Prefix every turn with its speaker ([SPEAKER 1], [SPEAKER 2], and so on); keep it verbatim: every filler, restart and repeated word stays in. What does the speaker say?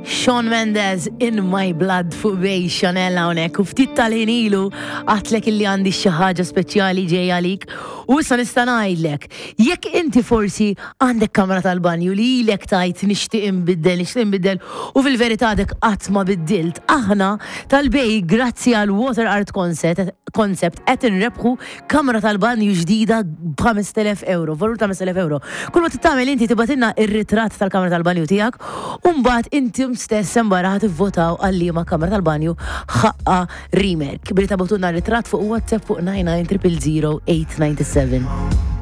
[SPEAKER 1] Shawn Mendes, "In My Blood" fuq Bay Chanel hawnhekk, u ftit tal-ħin ilu għedtlek illi għandi xi ħaġa speċjali ġej għalik u issa nista' ngħidlek, jekk inti forsi għandek kamra tal-banju li ilek tgħid "nixtieq inbiddel, nixtieq inbiddel" u fil-verità għadek qatt ma biddilt, aħna tal-Bay, grazzi għal Water Art Concept Concept qed inrebħu kamra tal-banju ġdida b'ħamest elef euro, valur ta' ħamest elef euro. Kull ma tagħmel inti tibgħatilna ir-ritratt tal-kamra tal-banju tiegħek u mbagħad intom stess barra ħa tivvotaw għal liema kamra tal-banju ħaqqa remake. Billi tibagħtulna ritratt fuq WhatsApp fuq nine nine zero zero eight nine seven.